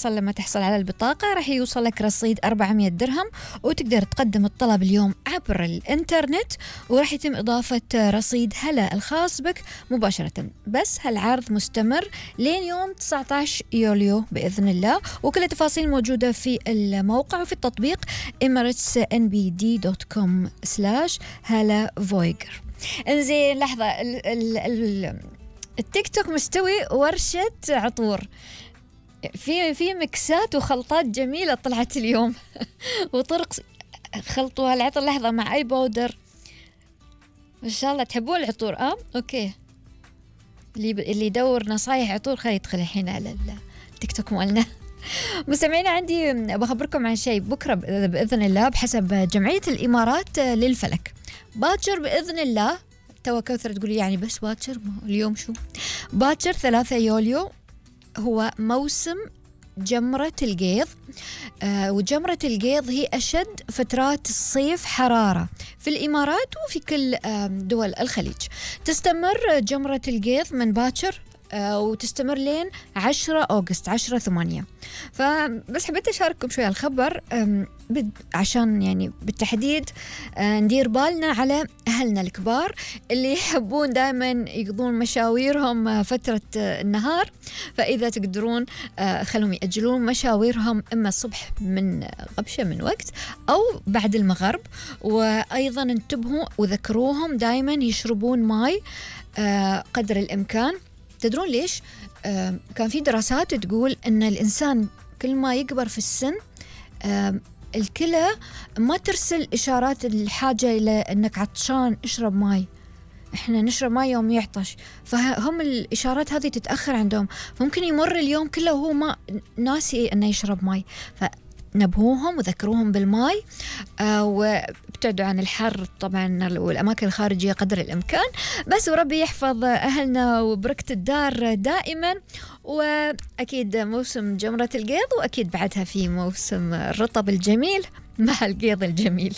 لما تحصل على البطاقة راح يوصل لك رصيد 400 درهم وتقدر تقدم الطلب اليوم عبر الإنترنت، وراح يتم إضافة رصيد هلا الخاص بك مباشرة. بس هالعرض مستمر لين يوم 19 يوليو بإذن الله، وكل التفاصيل موجودة في الموقع وفي التطبيق emirates.nbd.com/هلا انزين لحظة، التيك توك مستوي ورشة عطور، في مكسات وخلطات جميلة طلعت اليوم وطرق خلطوا هالعطر. لحظة، مع أي بودر إن شاء الله تحبون العطور. أوكي، اللي يدور نصايح عطور خلي يدخل الحين على التيك توك مالنا. مستمعين، عندي بخبركم عن شيء بكرة بإذن الله بحسب جمعية الإمارات للفلك. باكر بإذن الله، توا كوثر تقول يعني بس باكر، اليوم شو باكر 3 يوليو هو موسم جمرة القيض. وجمرة القيض هي أشد فترات الصيف حرارة في الإمارات وفي كل دول الخليج. تستمر جمرة القيض من باكر وتستمر لين 10 أغسطس 10/8. فبس حبيت أشارككم شوية الخبر عشان يعني بالتحديد ندير بالنا على أهلنا الكبار اللي يحبون دائما يقضون مشاويرهم فترة النهار. فإذا تقدرون خلهم يأجلون مشاويرهم إما الصبح من غبشة من وقت أو بعد المغرب. وأيضا انتبهوا وذكروهم دائما يشربون ماء قدر الإمكان. تدرون ليش؟ كان في دراسات تقول أن الإنسان كل ما يكبر في السن الكلى ما ترسل إشارات الحاجة إلى أنك عطشان اشرب ماء، إحنا نشرب ماء يوم يعطش، فهم الإشارات هذه تتأخر عندهم، فممكن يمر اليوم كله وهو ما ناسي أنه يشرب ماء. نبهوهم وذكروهم بالماء وابتعدوا عن الحر طبعا والأماكن الخارجية قدر الإمكان. بس وربي يحفظ أهلنا وبركة الدار دائما. وأكيد موسم جمرة القيض، وأكيد بعدها في موسم الرطب الجميل مع القيض الجميل.